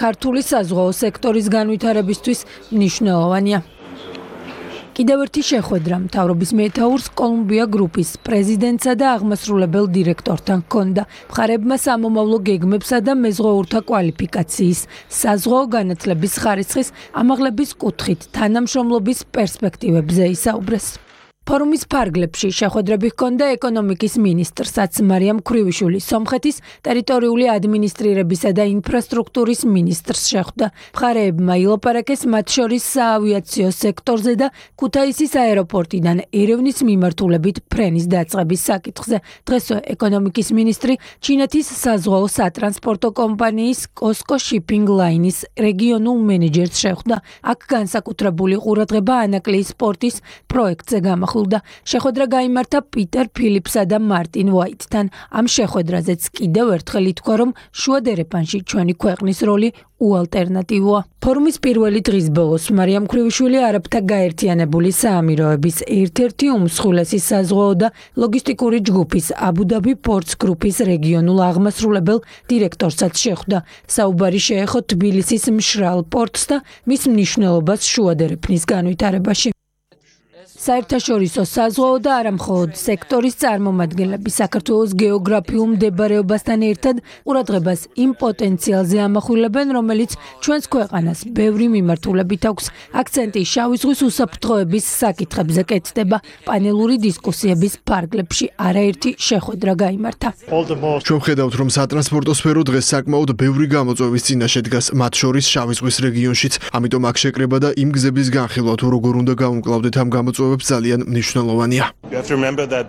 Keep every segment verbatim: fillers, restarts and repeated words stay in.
ქართული საზღვაო სექტორის განვითარებისთვის მნიშვნელოვანია. კიდევ ერთი შეხვედრა მთავრობის მეთაურს კოლუმბია გრუპის პრეზიდენტსა და აღმასრულებელ დირექტორთან ჰქონდა. მხარებმა სამომავლო გეგმებსა და მეზღვაურთა კვალიფიკაციის, საზღვაო განათლების ხარისხის ამაღლების კუთხით თანამშრომლობის პერსპექტივებზე ისაუბრეს. ფორუმის ფარგლებში შეხვედრები ჰქონდა ეკონომიკის ministrსაც მარიამ ქრივიშვილის, სომხეთის ტერიტორიული ადმინისტრირებისა და ინფრასტრუქტურის ministrს შეხვდა. მხარეებმა ილაპარაკეს მათ შორის საავიაციო სექტორზე და ქუთაისის აეროპორტიდან ერევნის მიმართულებით ფრენის დაწყების საკითხზე. დღესვე ეკონომიკის ministri ჩინეთის საზღვაო სატრანსპორტო კომპანიის COSCO Shipping Line-ის რეგიონულ მენეჯერს შეხვდა. აქ განსაკუთრებული ყურადღება ანაკლიის პორტის პროექტზე გამახვილდა. შეხვედრა გაიმართა პიტერ ფილიპსა და მარტინ ვაიტთან. ამ შეხვედრაზეც კიდევ ერთხელ ითქვა, რომ შუადერეფანში ჩვენი ქვეყნის როლი უალტერნატივოა. ფორუმის პირველი დღის ბოლოს მარიამ ქრივიშვილი არაბთა გაერთიანებული საამიროების ერთ-ერთი უმსხვილესი საზღვაო და ლოგისტიკური ჯგუფის აბუ-დაბი პორტს გრუპის რეგიონულ აღმასრულებელ დირექტორსაც შეხვდა. საუბარი შეეხო თბილისის მშრალ პორტს და მის მნიშვნელობას შუადერეფნის განვითარებაში. საერთაშორისო საზღვაო და არამხოლოდ სექტორის წარმომადგენლები საქართველოს გეოგრაფიულ მდებარეობასთან ერთად ყურადღებას იმ პოტენციალზე ამახვილებენ, რომელიც ჩვენს ქვეყანას ბევრი მიმართულებით აქვს. აქცენტი შავი ზღვის უსაფრთხოების საკითხებზე კეთდება. პანელური დისკუსიების ფარგლებში არაერთი შეხვედრა გაიმართა. ჩვენ ვხედავთ, რომ სატრანსპორტო სფერო დღეს საკმაოდ ბევრი გამოწვევის წინაშე დგას, მათ შორის შავი ზღვის რეგიონშიც. ამიტომ აქ შეკრება და იმ გზების განხილვა თუ როგორ უნდა გავუმკლავდეთ ამ გამოწვევებს ძალიან მნიშვნელოვანია.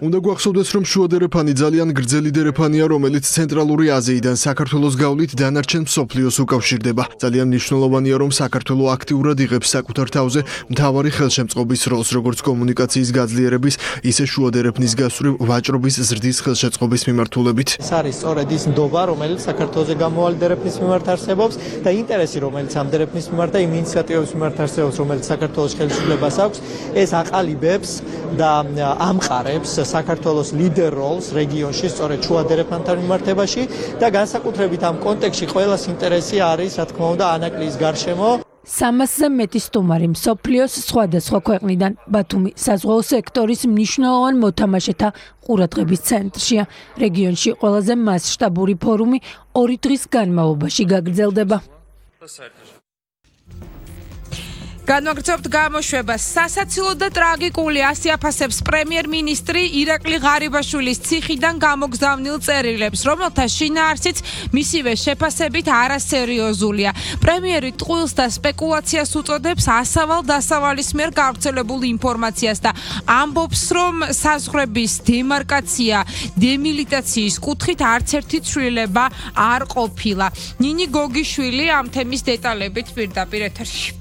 უნდა გვახსოვდეს, რომ შუადერეფანი ძალიან გრძელი დერეფანია, რომელიც ცენტრალური აზიიდან საქართველოს გავლით დანარჩენ მსოფლიოს უკავშირდება. ძალიან მნიშვნელოვანია, რომ საქართველო აქტიურად იღებს საკუთარ თავზე მთავარი ხელშემწყობის როლს, როგორც კომუნიკაციის გაძლიერების, ისე შუადერეფნის გასწვრივ ვაჭრობის ზრდის ხელშეწყობის მიმართულებით. ეს არის სწორედ ის ნდობა, რომელიც საქართველოს გამოვალ დერეფნის მიმართ არსებობს და ინტერესი, რომელიც ამ დერეფნის მიმართ და იმ ინიციატივების მიმართ არსებობს, რომელიც საქართველოს ხელისუფლებას აქვს, ეს აყალიბებს და ამყარებს საქართველოს ლიდერ როლს რეგიონში, სწორედ შუადერეფანთან მიმართებაში და განსაკუთრებით ამ კონტექსტში ყველას ინტერესი არის, რა თქმა უნდა, ანაკლიის გარშემო. სამასზე მეტი სტუმარი მსოფლიოს სხვადასხვა ქვეყნიდან. ბათუმი საზღვაო სექტორის მნიშვნელოვან მოთამაშეთა ყურადღების ცენტრშია. რეგიონში ყველაზე მასშტაბური ფორუმი ორი დღის განმავლობაში გაგრძელდება. განვაგრძობთ გამოშვებას. სასაცილო და ტრაგიკული ასე აფასებს პრემიერ-მინისტრი ირაკლი ღარიბაშვილის ციხიდან გამოგზავნილ წერილებს, რომელთა შინაარსიც მისივე შეფასებით არასერიოზულია. პრემიერი ტყუილს და სპეკულაციას უწოდებს ასავალ-დასავალის მიერ გავრცელებულ ინფორმაციას და ამბობს, რომ საზღვრების დემარკაცია დემილიტაციის კუთხით არც ერთი ცვლილება არ ყოფილა. ნინი გოგიშვილი ამ თემის დეტალებით პირდაპირ ეთერში.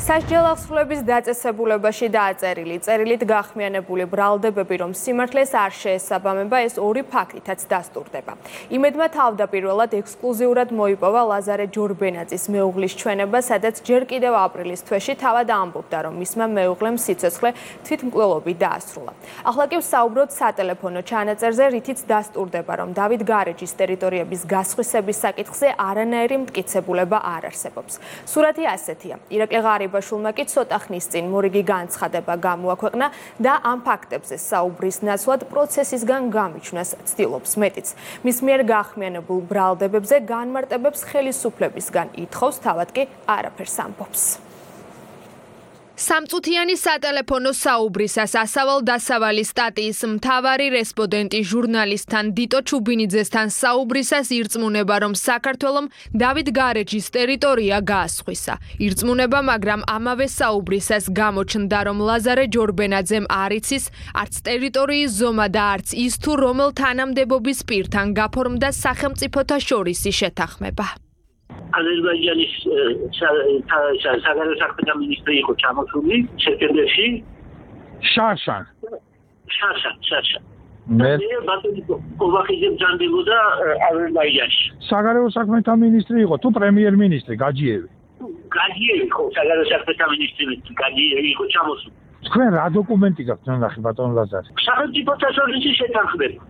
სასჯელ ახსნილების დაწესებულებაში დააწერილი წერილით გახმიანებული ბრალდებები, რომ სიმართლეს არ შეესაბამება, ეს ორი ფაქტითაც დასტურდება. იმედმა თავდაპირველად ექსკლუზიურად მოიპოვა ლაზარე ჯორბენაძის მეუღლის ჩვენება, სადაც ჯერ კიდევ აპრილის თვეში თავად ამბობდა, რომ მისმა მეუღლემ სიცოცხლე თვითმკვლელობით დაასრულა. ახლა კი ვსაუბრობთ სატელეფონო ჩანაწერზე, რითიც დასტურდება, რომ დავით გარეჯის ტერიტორიების გასხვისების საკითხზე არანაირი მტკიცებულება არ არსებობს. სურათი ასეთია. ირაკლი ღარიბაშვილმა კი ცოტა ხნის წინ მორიგი განცხადება გამოაქვეყნა და ამ ფაქტებზე საუბრის ნაცვლად პროცესისგან გამიჩნას ცდილობს. მეტიც, მის მიერ გახმიანებულ ბრალდებებზე განმარტებებს ხელისუფლებისგან ითხოვს, თავად კი არაფერს ამბობს. სამწუთიანი სატელეფონო საუბრისას ასავალ-დასავალის სტატიის მთავარი რესპონდენტი ჟურნალისტთან დიტო ჩუბინიძესთან საუბრისას ირწმუნება, რომ საქართველომ დავით გარეჯის ტერიტორია გაასხვისა. ირწმუნება, მაგრამ ამავე საუბრისას გამოჩნდა, რომ ლაზარე ჯორბენაძემ არ იცის არც ტერიტორიის ზომა და არც ის თუ რომელ თანამდებობის პირთან გაფორმდა სახელმწიფოთა შორისი შეთანხმება. აზერბაიჯანის საგარეო საქმეთა მინისტრი იყო ჩამოსული სექტემბერში. შაშან. შაშან, შაშან. მე ბატონი კოვახიძე ბრძანდებოდა აზერბაიჯანში. საგარეო საქმეთა მინისტრი იყო თუ პრემიერ-მინისტრი გაჯიევი? გაჯიევი იყო საგარეო საქმეთა მინისტრი, გაჯიევი იყო ჩამოსული. თქვენ რა დოკუმენტი გაქვთ ნახე ბატონ ლაზარე? სახელმწიფოთა შორისი შეთანხმება.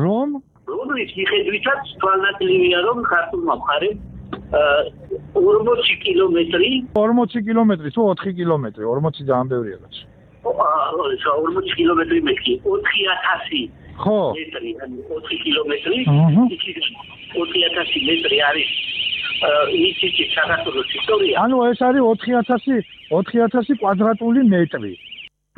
რომ? რომლის მიხედვითაც თვალნაკლებია, რომ ქართულმა მხარემ ორმოცი კილომეტრი. ორმოცი კილომეტრი თუ ოთხი კილომეტრი, ორმოცი ძალიან ბევრია რაც. აა, ორმოცი კილომეტრი მეტი, ოთხი ათასი. ხო. მეტრი, ანუ ოთხი კილომეტრი. აჰა. ოთხი ათასი მეტრი არის ისეთი საქართველოს ისტორია. ანუ ეს არის ოთხი ათასი ოთხი ათასი კვადრატული მეტრი.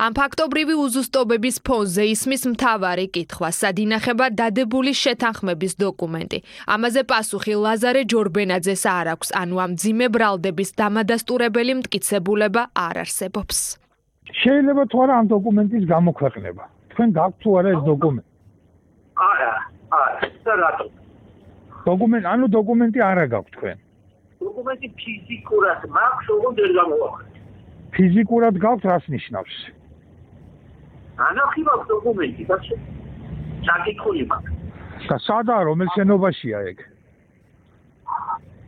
ამ ფაქტობრივი უზუსტობების ფონზე ისმის მთავარი კითხვა, სად ინახება დადებული შეთანხმების დოკუმენტი. ამაზე პასუხი ლაზარე ჯორბენაძეს არ აქვს, ანუ ამ მძიმე ბრალდების დამადასტურებელი მტკიცებულება არ არსებობს. შეიძლება თუ არა ამ დოკუმენტის გამოქვეყნება. თქვენ გაქვთ თუ არა ეს დოკუმენტი? არა, არა, და რატო? დოკუმენტი, ანუ დოკუმენტი არა გაქვთ თქვენ. დოკუმენტი ფიზიკურად მაქვს, ოღონდ ვერ გამოვაყენე. ფიზიკურად გაქვთ, რას ნიშნავს? ანახი მაქვს დოკუმენტი, და საკითხული მაქვს. და სადაა, რომელ შენობაშია ეგ?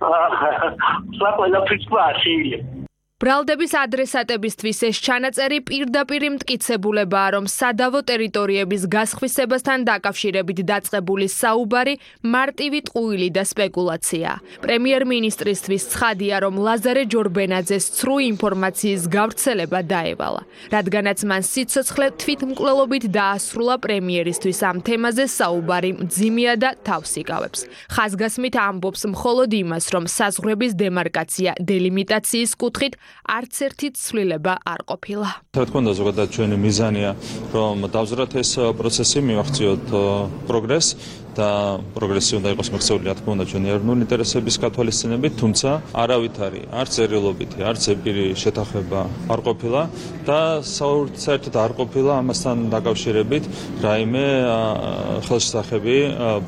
აა, ყველაფერს შეიძლება. ბრალდების ადრესატებისთვის ეს ჩანაწერი პირდაპირ მტკიცებულებაა, რომ სადავო ტერიტორიების გასხვისებასთან დაკავშირებით დაწყებული საუბარი მარტივი ტყუილი და სპეკულაციაა. პრემიერ-მინისტრისთვის ცხადია, რომ ლაზარე ჯორბენაძეს ცრუ ინფორმაციის გავრცელება დაევალა, რადგანაც მან სიცოცხლე თვითმკვლელობით დაასრულა პრემიერისთვის ამ თემაზე საუბარი მძიმეა და თავს იკავებს. ხაზგასმით ამბობს მხოლოდ იმას, რომ საზღვრების დემარკაცია დელიმიტაციის კუთხით არც ერთი ცვლილება არ ყოფილა. რა თქმა უნდა, ზოგადად ჩვენი მიზანია, რომ დავზრათ ეს პროცესი, მივახციოთ პროგრესს და პროგრესი უნდა იყოს მოქცეული, რა თქმა უნდა, ჩვენი ეროვნული ინტერესების გათვალისწინებით, თუმცა არავითარი, არც წერილობითი, არც ეპირი შეთანხმება არ ყოფილა და საერთოდ არ ყოფილა ამასთან დაკავშირებით რაიმე ხელშესახები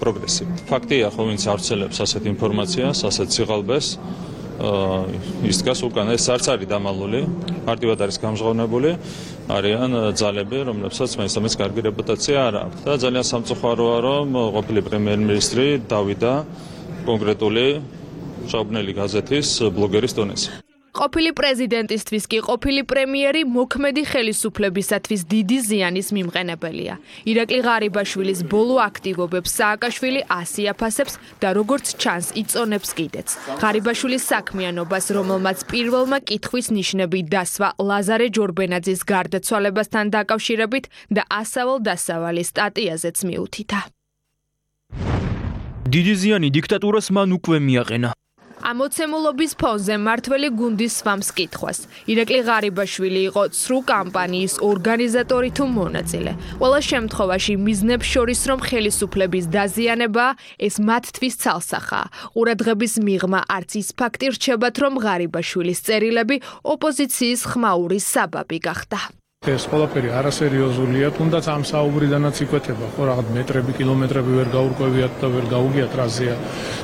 პროგრესი. ფაქტია, ხო, ვინც ავრცელებს ასეთ ინფორმაციას, ასეთ სიღალბეს, ის დგას უკან, ეს არც არის დამალული, მარტივად არის გამჟღავნებული, არიან ძალები, რომლებსაც მაინც-ამის კარგი რეპუტაცია არ აქვს. და ძალიან სამწუხაროა, რომ ყოფილი პრემიერ-მინისტრი დავიდა კონკრეტული ჟაუბნელი გაზეთის ბლოგერის დონეზე. ყოფილი პრეზიდენტისთვის კი ყოფილი პრემიერი მოქმედი ხელისუფლებისათვის დიდი ზიანის მიმყენებელია. ირაკლი ღარიბაშვილის ბოლო აქტივობებს სააკაშვილი ასიაფასებს და როგორც ჩანს იწონებს კიდეც. ღარიბაშვილის საქმიანობას, რომელმაც პირველმა კითხვის ნიშნები დასვა ლაზარე ჯორბენაძის გარდაცვალებასთან დაკავშირებით და ასავალ-დასავალი სტატიაზეც მიუთითა. დიდი ზიანი დიქტატურას მან უკვე მიაყენა. ამოცემულობის ფონზე მართველი გუნდის სვამს კითხვას. ირაკლი ღარიბაშვილი იყო ცრუ კამპანიის ორგანიზატორი თუ მონაწილე. ყველა შემთხვევაში მიზნებს შორის რომ ხელისუფლების დაზიანება ეს მათთვის ცალსახაა. ყურადღების მიღმა არც ის ფაქტი რჩებათ რომ ღარიბაშვილის წერილები ოპოზიციის ხმაურის საბაბი გახდა. ეს ყველაფერი არასერიოზულია, თუნდაც ამ საუბრიდანაც იკვეთება, ხო, რაღაც მეტრები, კილომეტრები ვერ გაურკვევიათ და ვერ გაუგიათ რაზეა.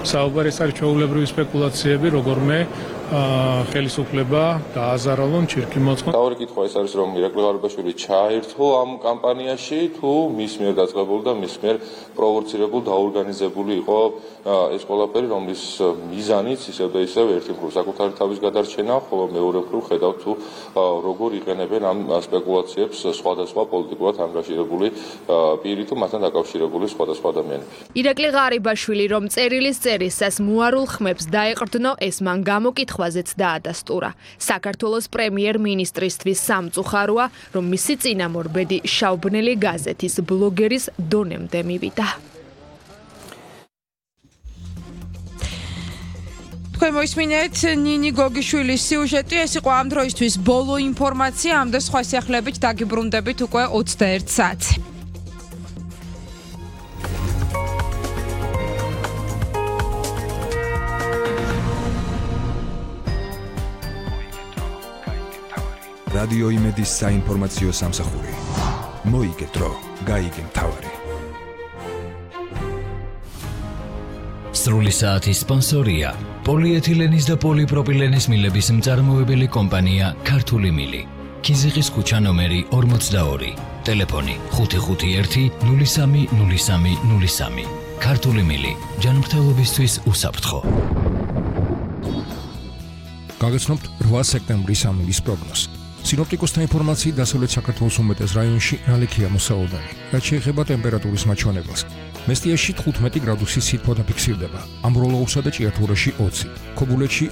საუბარი ეს არის ჩვეულებრივი სპეკულაციები, როგორმე ხელისუფლება დააზარალონ ჩირკი მოწყო. თავი კითხვა ეს არის რომ ირაკლი ღარიბაშვილი ჩაერთო ამ კამპანიაში თუ მის მიერ დაწყებული და მის მიერ პროვოცირებული დაორგანიზებული იყო ეს ყველაფერი, რომლის მიზანიც ისევ და ისევ ერთი მხრივ საკუთარი თავის გადარჩენა, ხოლო მეორე მხრივ ხედავთ თუ როგორ იყენებენ ამ სპეკულაციებს სხვადასხვა პოლიტიკურად ანგაჟირებული პირი თუ მასთან დაკავშირებული სხვადასხვა ადამიანები. ირაკლი ღარიბაშვილი რომ წერილის წერისას მუარულ ხმებს დაეყრდნო, ეს მან გამოკითხვაზეც დაადასტურა. საქართველოს პრემიერ-მინისტრისთვის სამწუხაროა, რომ მისი წინამორბედი შაუბნელი გაზეთის ბლოგერის დონემდე მივიდა. თქვენ მოისმინეთ ნინი გოგიშვილის სიუჟეტი, ეს იყო ამ დროისთვის ბოლო ინფორმაცია, ამ და სხვა სიახლეებით დაგიბრუნდებით უკვე ოცდაერთ საათზე. რადიო იმედის საინფორმაციო სამსახური. მოიგე დრო, გაიგე მთავარი. სრული საათის სპონსორია პოლიეთილენის და პოლიპროპილენის მილების მწარმოებელი კომპანია ქართული მილი. ქიზიყის ქუჩა ნომერი ორმოცდაორი. ტელეფონი ხუთი ხუთი ერთი ნული სამი ნული სამი ნული სამი. ქართული მილი. ჯანმრთელობისთვის უსაფრთხო. გაგაცნობთ რვა სექტემბრის ამინდის პროგნოზს. სინოპტიკოსთა ინფორმაციით დასავლეთ საქართველოს უმეტეს რაიონში ნალექია მოსაოდარი. რაც შეეხება ტემპერატურის მაჩვენებელს. მესტიაში თხუთმეტი გრადუსის სითბო დაფიქსირდება. ამბროლოურსა და ჭიათურაში ოცი. ქობულეთში